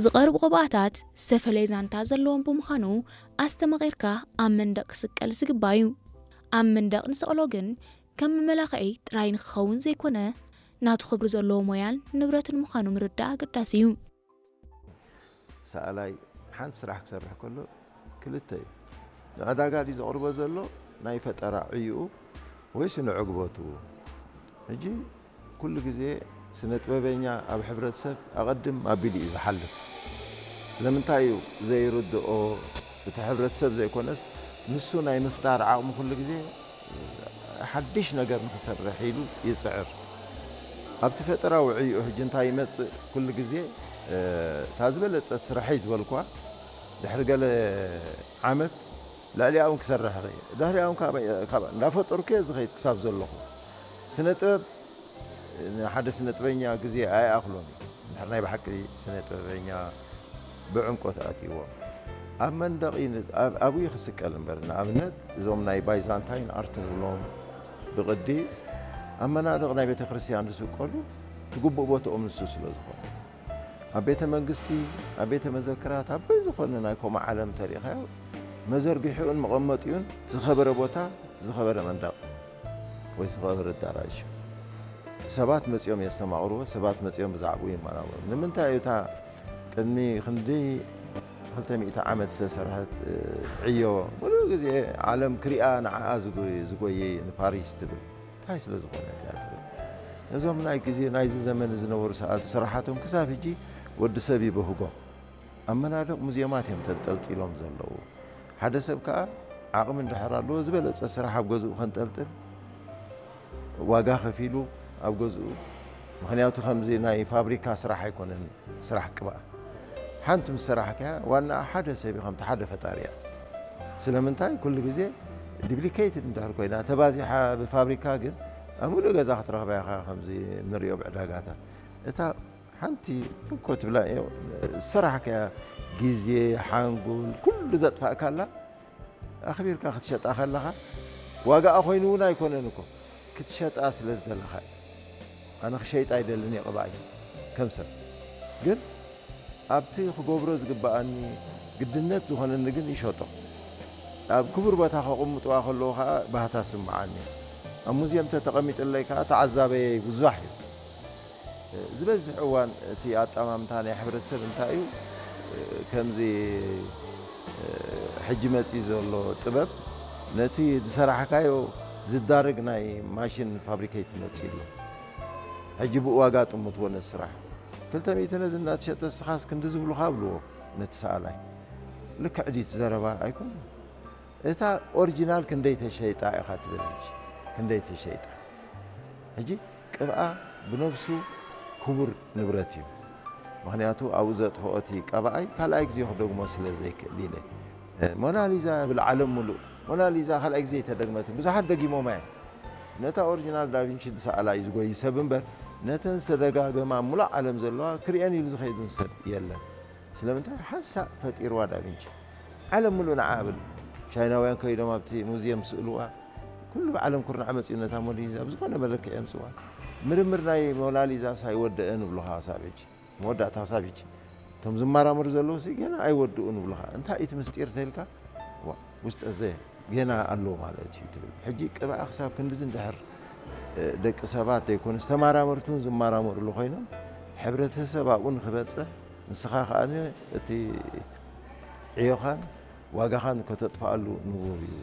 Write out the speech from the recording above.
ዝቐርቡ ቅብኣታት ዝተፈላለየ ዛንታ ዘለዎም ብምዃኑ ኣስተማቒርካ ኣብ መንደቕ ክስቀል ዝግባእ እዩ። ኣብ መንደቕ ንሰቕሎ ግን ከም መመላኽዒ ጥራይ ንክኸውን ዘይኮነ ናቱ ክብሪ ዘለዎ ሞያን ንብረትን ምዃኑ ምርዳእ ኣገዳሲ እዩ። ሰኣላይ ሓንቲ ስራሕ ክሰርሕ ከሎ ክልተ እዩ። ንዕዳጋ ድዩ ዘቕርቦ ዘሎ ናይ ፈጠራ ዕይኡ ወይስ ንዕግበቱ? ሕጂ ኩሉ ግዜ ስነ ጥበበኛ ኣብ ሕብረተሰብ ኣቐድም ኣቢሉ እዩ ዝሓልፍ። ስለምንታይ እዩ ዘይርድኦ? እቲ ሕብረተሰብ ዘይኮነስ ንሱ ናይ ምፍጣር ዓቕሚ ኩሉ ግዜ ሓድሽ ነገር ንክሰርሕ ኢሉ ይፅዕር። ኣብቲ ፈጠራዊ ዕይኡ ሕጂ እንታይ ይመፅእ? ኩሉ ግዜ እታ ዝበለፀት ስራሐይ ዝበልኳ ድሕሪ ገለ ዓመት ልዕሊኣ እውን ክሰርሕ እኽእል። ድሕሪኣ እውን ካብ እንዳፈጠርኩ እየ ዝኸይድ ክሳብ ዘለኹ። ስነ ጥበብ ንሓደ ስነ ጥበበኛ ግዜ ኣይኣኽሎን እዩ። እንድሕር ናይ ብሓቂ ስነ ጥበበኛ ብዕምቆት ኣትይዎ ኣብ መንደቕ እዩ ን- ኣብ- ኣብኡ እዩ ክስቀል እምበር። ንኣብነት እዞም ናይ ባይዛንታይን ኣርት ንብሎም ብቕዲ ኣብ መናድቕ ናይ ቤተ ክርስቲያን ዝስቀሉ ትግቡእ ቦትኦም ንሱ ስለ ዝኾነ ኣብ ቤተ መንግስቲ ኣብ ቤተ መዘክራት ኣብ በይ ዝኾነ ናይ ኮማ ዓለም ተሪእኻዮ መዘርግሒኡን መቐመጢኡን ዝኸበረ ቦታ ዝኸበረ መንደቕ ወይ ዝኸበረ ኣዳራሽ እዩ። ሰባት መፂኦም የስተማቕርዎ፣ ሰባት መፂኦም ብዛዕባኡ ይመራመሩ። ንምንታይ እዩ እታ ቅድሚ ክንዲ ክልተ ሚእቲ ዓመት ዝተሰርሐት ዕዮ ሙሉእ ግዜ ዓለም ክሪኣ ንዓኣ ዝጎየ ንፓሪስ ትብል እንታይ ስለ ዝኾነት እያ ትብል። ነዞም ናይ ግዜ ናይዚ ዘመን ዝነበሩ ሰኣልቲ ስራሓቶም ክሳብ ሕጂ ወዲ ሰብ ይበህጎ ኣብ መናድቕ ሙዝየማት እዮም ተንጠልጢሎም ዘለዉ። ሓደ ሰብ ከኣ ዓቕሚ እንድሕር ኣለዎ ዝበለጸ ስራሕ ኣብ ገዝኡ ከንጠልጥል ዋጋ ከፊሉ ኣብ ገዝኡ ምኽንያቱ ከምዚ ናይ ፋብሪካ ስራሕ ኣይኮነን ስራሕ ቅብኣ ሓንቲ ምስ ሰራሕካያ ዋና ሓደ ሰብ እዩ ከምቲ ሓደ ፈጣሪ እያ ስለምንታይ ኩሉ ግዜ ዲፕሊኬትድ እንድሕር ኮይና ተባዚሓ ብፋብሪካ ግን ኣብ ሙሉእ ገዛ ክትረኽባ ኢኻ ከምዚ ንሪኦ ብዕዳጋታት እታ ሓንቲ እኮ ትብላ እዮ ሰራሕካያ ግዜ ሓንጎል ኩሉ ዘጥፋእካላ ኣኽቢርካ ክትሸጣ ከለኻ ዋጋኣ ኮይኑ እውን ኣይኮነን እኮ ክትሸጣ ስለ ዝደለኻ እዩ ኣነ ክሸይጣ ኣይደልን እየ ቅብኣይ ከም ሰብ ግን ኣብቲ ክገብሮ ዝግብኣኒ ግድነት ዝኾነኒ ግን ይሸጦ ኣብ ክቡር ቦታ ከቕምጥዋ ከለዉ ከዓ ባህታ ስምዓኒ ኣብ ሙዝየም ተተቐሚጥለይ ከዓ ተዓዛበየ ብዙሕ እዩ ዝበዝሕ እዋን እቲ ኣጠማምታ ናይ ሕብረተሰብ እንታይ እዩ ከምዚ ሕጂ መፂ ዘሎ ጥበብ ነቲ ዝሰራሕካዮ ዝዳርግ ናይ ማሽን ፋብሪኬት መፂ ኣሎ ሕጂ ብኡ ዋጋ ጥምትዎ ነቲ ስራሕ ክልተ ሚእቲ ነዚ እናተሸጠ እስኻስ ክንዲ ዝብሉኻ ብልዎ ነቲ ሰኣላይ ልክዕ ድዩ እቲ ዘረባ ኣይኮነ እታ ኦሪጂናል ክንደይ ተሸይጣ ኢኻ ትብል ሕጂ ክንደይ ተሸይጣ ሕጂ ቅብኣ ብነብሱ ክቡር ንብረት እዩ ምኽንያቱ ኣብኡ ዘጥፍኦ እቲ ቀባኣይ ካልኣይ ግዜ ክደግሞ ስለ ዘይክእል ኢለ ሞናሊዛ ብል ዓለም ሙሉእ ሞናሊዛ ካልኣይ ግዜ ተደግመት ብዙሓት ደጊሞማ እዮም ነታ ኦሪጂናል ዳቪንቺ ዝሰኣላ እዩ ዝጎይ ሰብ እምበር ነተን ዝተደጋገማ ሙሉእ ዓለም ዘለዋ ክሪአን ኢሉ ዝኸይዱን ሰብ የለን ስለምንታይ ሓንሳእ ፈጢርዋ ዳቪንቺ ዓለም ሙሉእ ንዓ ብል ቻይናውያን ከይዶም ኣብቲ ሙዝየም ስእልዋ ኩሉ ብዓለም ኩርናዕ መፂኡ ነታ ሞናሊዛ ብዝኾነ መለክዕ የምፅዋ ምርምር ናይ ሞናሊዛ ሳይወደአ ንብሉኻ ሳብ ሕጂ መወዳእታ ክሳብ ሕጂ እቶም ዝመራመሩ ዘለዉ ሲ ገና ኣይወድኡ ንብሉኻ እንታይ እቲ ምስጢር ተልካ ውስጠ ዘ ገና ኣሎ ማለት እዩ ትብል ሕጂ ቅብኣ ክሳብ ክንድዚ እንድሕር ደቂ ሰባት ዘይኮኑስ ተመራመርቲ እውን ዝመራመርሉ ኮይኖም ሕብረተሰብ ኣብኡ ንክበፅሕ ንስኻ ከዓ እቲ ዕዮኻን ዋጋኻን ከተጥፍኣሉ ንቡር እዩ